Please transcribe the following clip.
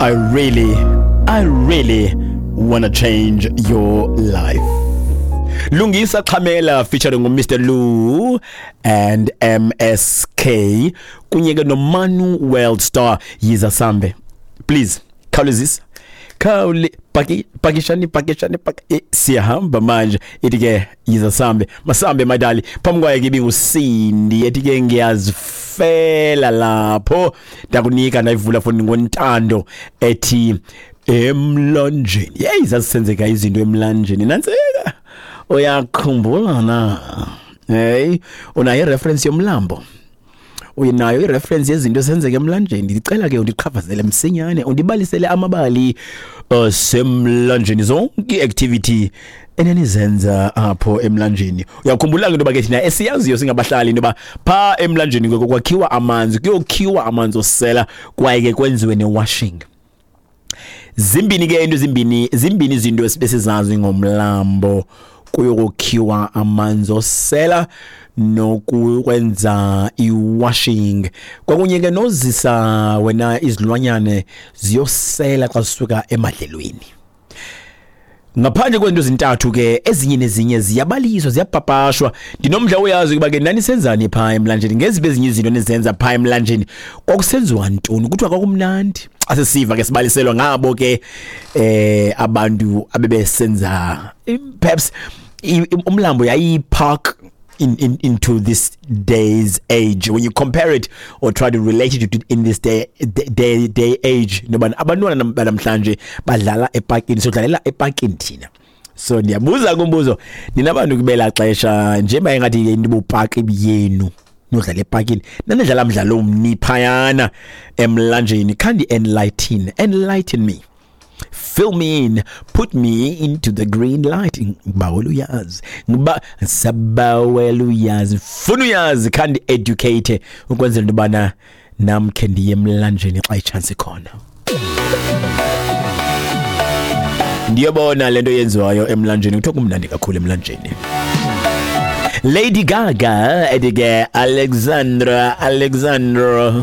I really wanna change your life. Lungisa Xhamela featuring Mr Lu and MSK kunye ke noManu World Star, Yiza Sambe. Please khawulezisa, khawule paki, pakishani, pakishani, pak siyahamba manje. Ithi ke Yiza Sambe, masambe madali. Phambi kwayo ke ibinguSindi, ethi ke Ngiyazifela. Lapho ndakunika ndayivula foni ngoNtando, ethi Emlanjeni. Yeyi, zazisenzeka izinto emlanjeni. Nantsika, uyakhumbula na? Hey, unayo ireference yomlambo? Unayo ireference yezinto esenzeka emlanjeni? Ndicela ke undichaphazele msinyane, undibalisele amabali asemlanjeni, zonke i-activity enanizenza apho emlanjeni. Uyakhumbula ke into yoba ke thina esiyaziyo singabahlali, into yoba phaa emlanjeni ke kwakhiwa amanzi, kuyokhiwa amanzi osela, kwaye ke kwenziwe ne-washing. Zimbini ke into, zimbini, zimbini izinto esibesizazi ngomlambo: kuyokukhiwa amanzi osela nokwenza i-washing, kwakunye ke nozisa wena izilwanyane ziyosela xa zisuka emadlelweni. Ngaphandle kwezinto ezintathu ke, ezinye nezinye ziyabaliswa, ziyapapashwa. Ndinomdla uyazi ukuba ke nanisenzani phaa emlanjeni, ngeziphi ezinye izinto nizenza phaa emlanjeni, kwakusenziwa ntoni, kuthiwa kwakumnandi. Xa sisiva ke sibaliselwa ngabo ke abantu abebesenza, perhaps umlambo yayipark into this day's age, when you compare it or try to relate it to in this day age, noba abantwana banamhlanje badlala epakini, sodlalela epakini thina. So ndiyabuza kumbuzo, nina bantu kubela xesha njengoba ingathi into bupaki yenu nodlala epakini, nanidlala mdlalo omni phayana emlanjeni? Khandi enlighten me, fill me in, put me into the green light. Ngibawela uyazi, ngiba sabawela uyazi, funa uyazi, khandi educate ukwenzela into yobana nam khe ndiye emlanjeni xa ichance ikhona, ndiyobona le nto yenziwayo emlanjeni. Kuthiwa kumnandi kakhulu emlanjeni. Lady Gaga ethi ke Alexandra, Alexandra.